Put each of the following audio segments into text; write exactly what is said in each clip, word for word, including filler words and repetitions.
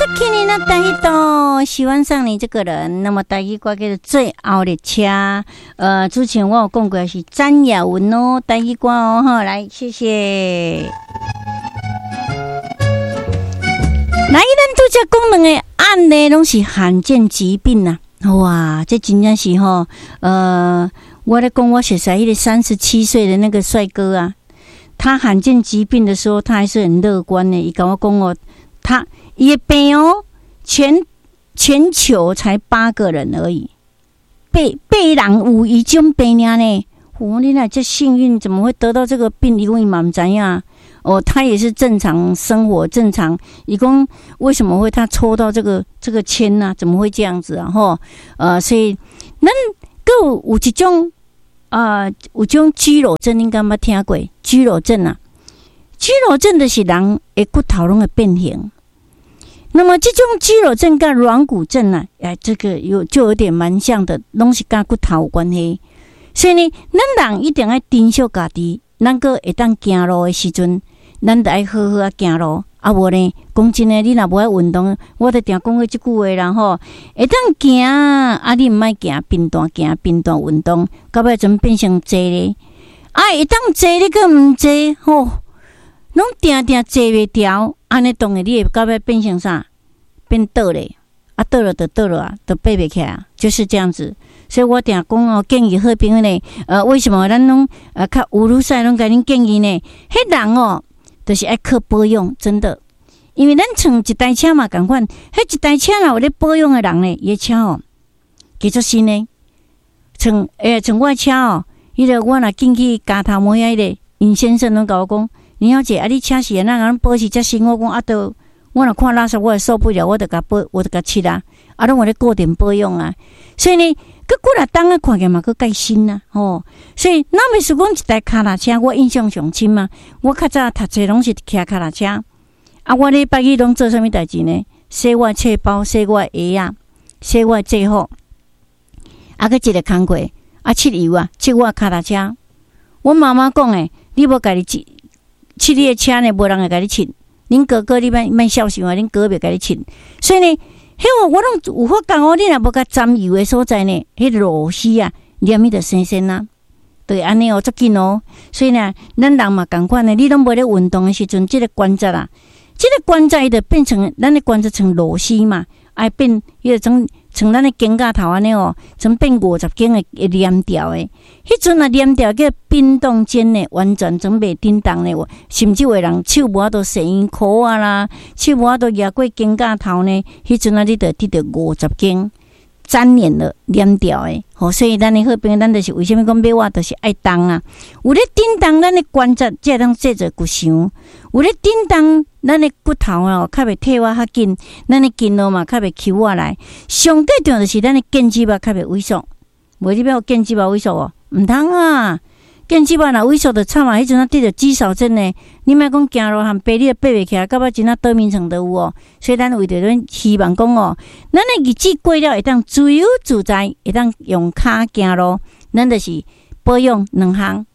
好きになった人，喜歡上你這個人。那麼台語歌叫做《最後列車》。呃，之前我有講過是詹雅雯哦，台語歌哦，哈，來，謝謝。來，咱拄才講兩个案例，攏是罕見疾病啊！哇，這真正是吼，呃，我咧講我熟似彼个三十七歲的那個帥哥啊，他罕見疾病的時候，他還是很樂觀的。伊共我講哦，他伊的病哦，全全球才八個人而已，八八人有伊種病爾呢。我你若這幸運，怎麼會得到這個病？伊講伊嘛毋知影。哦，他也是正常生活，正常。伊講為什麼會他抽到這個這個籤呢？啊？怎麼會這樣子啊？吼，呃，所以咱閣有有一種啊，呃，有種肌肉症，恁敢捌聽過？肌肉症啊，肌肉症就是人的骨頭攏會變形。那麼這種肌肉症佮軟骨症啊，哎，這個有就有點蠻像的，攏是佮骨頭有關係。所以呢，咱人一定愛珍惜家己，咱閣會當行路的時陣，咱著愛好好仔行路，啊無呢，講真的，你若無愛運動，我著定講過這句話啦吼。會當行，啊你毋愛行，貧惰行，貧惰運動，到尾陣變成坐咧。啊會當坐你閣毋坐，吼，攏定定坐袂牢，按呢當然你會到尾變成啥？變倒咧，啊倒了就倒了啊，就爬袂起來啊，就是這樣子。所以我定講哦，建議好朋友呢，呃，為什麼咱攏呃較有女婿攏共恁建議呢？彼人哦，就是愛靠保養，真的，因為咱像一台車嘛仝款，彼一台車若有咧保養的人呢，伊的車哦，加足新的。像欸，像我的車哦，彼個我若進去加頭毛遐彼個尹先生攏共我講，林小姐啊，你車是按怎共保持遮新？我講啊，都我若看垃圾，我會受不了，我就共保，我就共漆啊，啊，攏有咧固定保養啊，所以呢，閣幾若冬仔看起來嘛閣蓋新啊，吼！所以咱袂輸講一台跤踏車，我印象上深啊。我較早讀冊攏是騎跤踏車，啊，我禮拜一攏做啥物代誌呢？洗我的冊包，洗我的鞋仔，洗我的制服，啊，閣一个工課，啊，漆油啊，漆我的跤踏車。阮媽媽講的，你無家己漆，漆你的車呢，無人會共你漆。恁哥哥你莫莫痟想啊，恁哥袂共你漆。所以呢，彼個我攏有發覺哦，你若無共沾油的所在呢，彼螺絲啊，黏伊就生鉎啊，對按呢哦，足緊哦。所以呢，咱人嘛仝款的，你攏無咧運動的時陣，這个關節啊，這个關節伊就變成咱的關節像螺絲嘛，愛變彼個種像咱的肩胛頭按呢哦，像變五十肩的會黏牢的。彼陣若黏牢叫冰凍肩呢，完全總袂振動呢，甚至有的人手無法度踅嬰箍仔啦，手無法度夯過肩胛頭呢，彼陣啊，你就得著五十肩粘連了黏牢的。吼，所以咱的好朋友，咱就是為啥物講買碗就是愛動啊？有咧振動，咱的關節才會當製造骨傷；有咧振動，咱的骨頭哦較袂退化較緊，咱的筋肉嘛較袂抽倚來。上蓋重要就是咱的腱子肉較袂萎縮。無你欲予腱子肉萎縮哦？毋通啊！腱子肉若萎縮就慘啊！彼陣啊得著肌少症呢，你莫講行路和爬，你都爬袂起來，到尾真正倒眠床都有哦。所以咱為著阮希望講哦，咱的日子過了會當自由自在，會當用跤行路，咱就是保養兩項，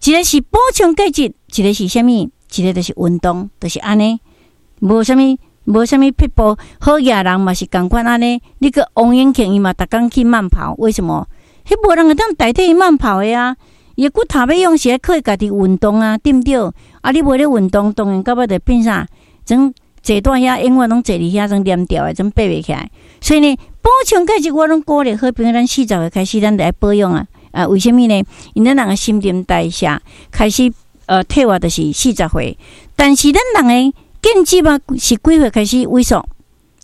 一个是補充鈣質，一个是啥物？一个就是運動，就是按呢，無啥物，無啥物撇步。好額人嘛是仝款按呢。你閣王永慶伊嘛逐工去慢跑，為什麼？彼無人會當代替伊慢跑的啊！伊的骨頭欲用是愛靠伊家己運動啊，對毋對？啊，你無咧運動，當然到尾就變啥？種坐蹛遐，永遠攏坐佇遐，種黏牢的，種爬袂起來。所以呢，補充鈣質我攏鼓勵好朋友，咱四十歲開始，咱就愛保養啊！啊，為啥物呢？因咱人的新陳代謝開始呃退化，就是四十歲。但是咱人的腱子肉是幾歲開始萎縮？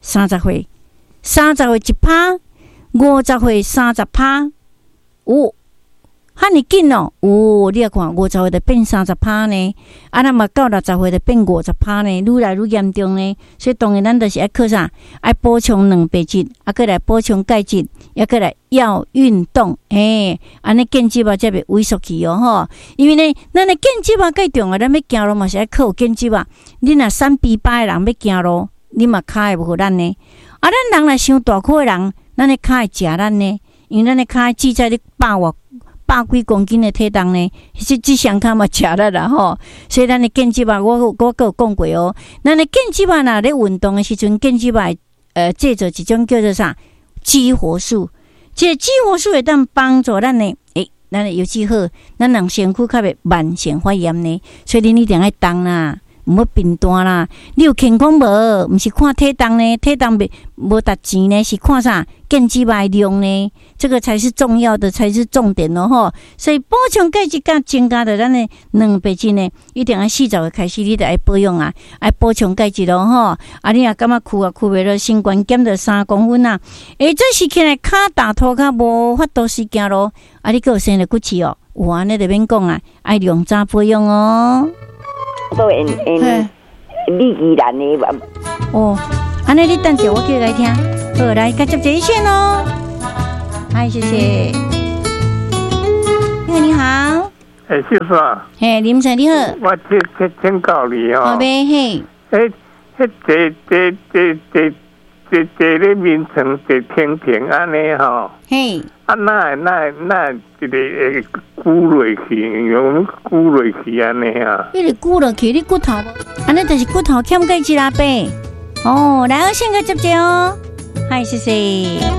三十歲，三十歲一趴，五十歲三十趴。有遐爾緊哦！有，你來看五十歲就變三十趴呢，啊，若嘛到六十歲就變五十趴呢，愈來愈嚴重呢。所以當然咱就是愛靠啥？愛補充蛋白質，啊，閣來補充鈣質，抑閣來要運動，嘿，按呢腱子肉才袂萎縮去哦吼。因為呢，咱的腱子肉蓋重要，咱欲行路嘛是愛靠有腱子肉。你若瘦肥巴的人欲行路，你嘛跤會無予咱呢。啊，咱人若傷大箍的人，咱的跤會食咱呢，因為咱的跤只在咧百外。百幾公斤的體重呢，這這雙跤嘛食力啦吼。所以咱的腱子肉，我我閣有講過哦。咱的腱子肉若咧運動的時陣，腱子肉會呃製造一種叫做啥激活素，這個激活素會當幫助咱的，欸，咱的腰子好，咱人身軀較袂慢性發炎呢。所以恁一定愛動啦，毋好貧惰啦。你有健康無？毋是看體重呢，體重袂無值錢呢，是看啥？腱子肉的量呢？這個才是重要的，才是重點咯吼。所以補充鈣質佮增加著咱的蛋白質呢，一定愛四十歲開始，你著愛保養啊，愛補充鈣質咯吼。啊，你若感覺跍啊跍袂落，身懸減著三公分啊，欸，這是起來跤踏塗跤無法度時行路，啊，你閣有生著骨刺哦，有按呢就免講啊，愛量早保養哦。都用用李基蘭的。哦，按呢你等者，我叫來聽。好，來，共接一線哦。嗨，謝謝。你好，你好。欸，秀娟。嘿，林生你好。我請請請教你哦。好唄，嘿。欸，彼坐坐坐坐坐坐咧眠床坐停停按呢吼。嘿。啊，哪會哪會哪會一個會龜落去，用龜落去按呢啊？你是龜落去，你骨頭，按呢就是骨頭欠鈣質啦，伯。哦，來，我先共接者哦。嗨，謝謝。